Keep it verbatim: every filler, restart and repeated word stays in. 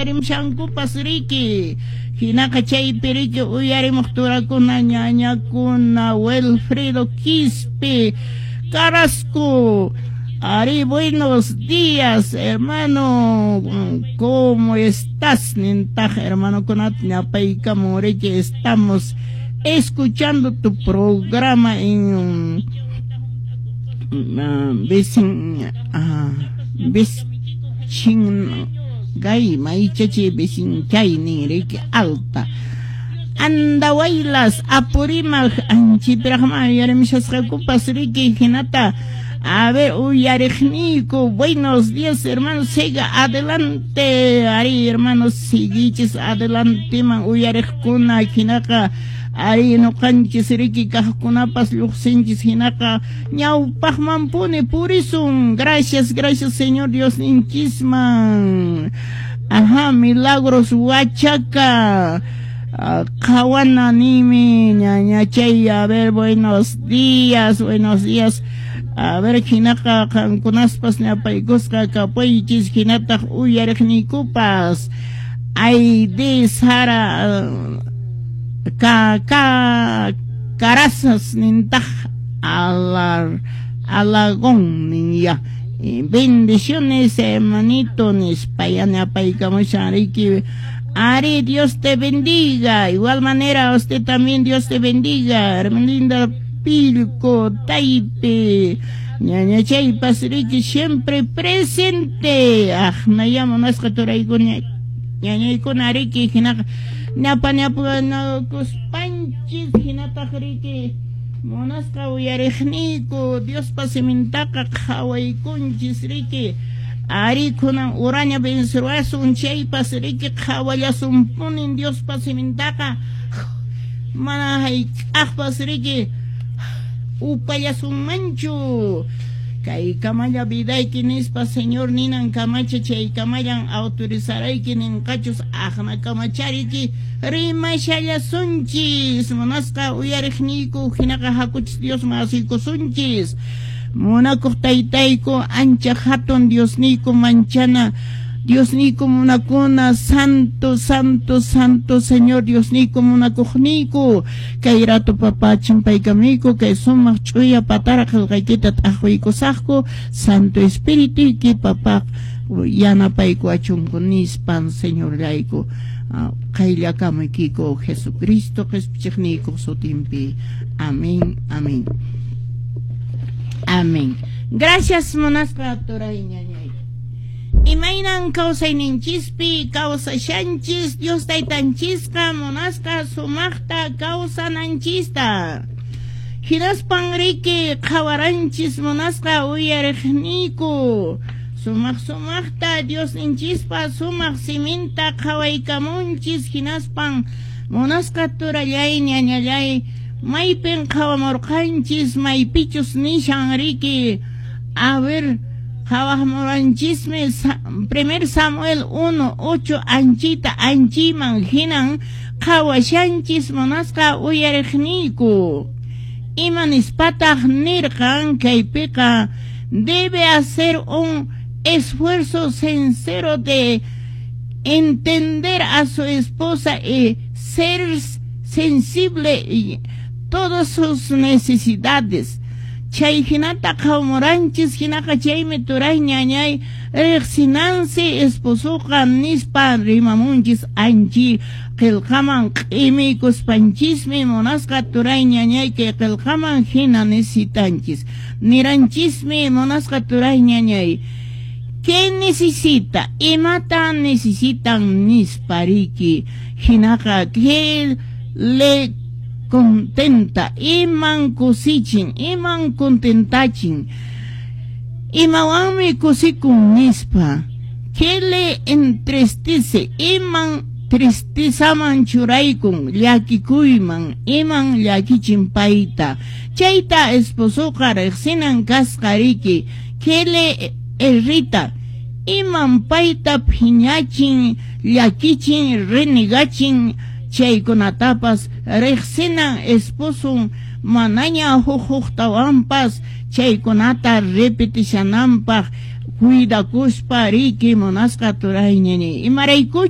Uyarimushankupas riki. Hinaqa chaypi riki uyarimuq turakuna, ñañakuna, Wilfredo Quispe Carrasco. Ari, buenos días, hermano. ¿Cómo estás? Nintaq hermanokunata ñapaykamun riki. Estamos escuchando tu programa en uh, Vicin, uh, Vicingay, maychachi Vicinchay nin riki, alta. Andahuaylas, Apurímac, anchipiraqma uyarimushasqakupas riki. Hinata, a ver, uyariqniyku, buenos días, hermanos, siga adelante. Ari, hermanos, siguichis adelanteman uyariqkuna. Hinaqa ari nuqanchis riki kaqkunapas lluqsinchis, hinaqa ñawpaqmanpuni purisun. Gracias, gracias, Señor Dios ninchisman. Ajá, Milagros Huachaca. Qhawana nimi ñañachay. A ver, buenos días, buenos días. A ver, hinaqa qankunaspas ñapaykusqa kapuychis, hinataq uyariqniykupas. Aide Sara ka ka Carasas nintaq alar Alagón ninya. Bendiciones, hermanito, nispa yanapaykamushan riki. Ari, Dios te bendiga. Igual manera, usted también, Dios te bendiga. Hermelinda Pilco, Taipe. Ñañachaypas riki siempre presente. Aqnaya munasqa turaykuna, ñañaykuna riki, hinaqa ñapa ñapanakuspanchis, hinataq riki munasqa uyariqniyku, Diospa simintaqa qhawaykunchis riki. Ari kunan uraña vencerwasun chaypas riki qhawallasunpunin Diospa simintaqa, mana hayk'aqpas riki upallasunmanchu. Kay kamalla vidayki nispa Señor ninan kamacha, chay kamallan autorizarayki ninqachus, aqna kamachariki rimashallasunchis. Munasqa uyariqniyku, hinaqa hakuchis Diosman asuykusunchis. Munakuq taytayku, ancha hatun Diosniyku, manchana Diosniyku, munakuna, santo, santo, santo Señor Diosniyku, munakuqniyku, kay rato papá chimpaykamiyku kay sumaq ch'uya patara qillqaykita t'aqwiykusaqku. Santo Espirituyki papá yanapaykuwachunku nispan, Señorllayku, qayllakamuykiku Jesucristo qhispichiqniykuq sutinpi. Amén, amén, amén. Gracias, munasqa turay, ñañay. Imaynan kawsayninchispi kawsashanchis? Dios taytanchisqa munasqa sumaqta kawsananchista. Hinaspan riki qhawaranchis, munasqa uyariqniyku, sumaq sumaqta Diosninchispa sumaq siminta qhawaykamunchis. Hinaspan munasqa turallay, ñañallay, maypin qhawamurqanchis maypichus nishan riki? A ver, qhawamuranchismi primer Samuel uno ocho anchita anchiman hinan qhawashanchis, munasqa uyariqniyku. Ima nispataq nirqan kaypiqa? Debe hacer un esfuerzo sincero de entender a su esposa y ser sensible y todas sus necesidades. Chay hinata qhawamuranchis. Hinaqa chaymi turay, ñañay, riqsinansi esposoqa nispa rimamunchis. Anchi qillqaman q'imiykuspanchismi, munasqa turay, ñañay, kay qillqaman hina necesitanchis niranchismi, munasqa turay, ñañay. ¿Qué necesita? Imata necesitan nispa riki. Hinaqa, ¿qué le contenta? Iman kusichin, iman contentachin, imawanmi kusikun nispa. ¿Qué le entristece? Iman tristezaman churaykun, llakikuyman, iman llakichin payta. Chayta esposoqa riqsinan kasqa riki. ¿Qué le irrita? Iman payta phiñachin, llakichin, renegachin, chaykunatapas riqsinan esposon, manaña huk huktawanpas chaykunata repetishananpaq cuidakuspa riki, munasqa turay, ñañay. Imaraykuchus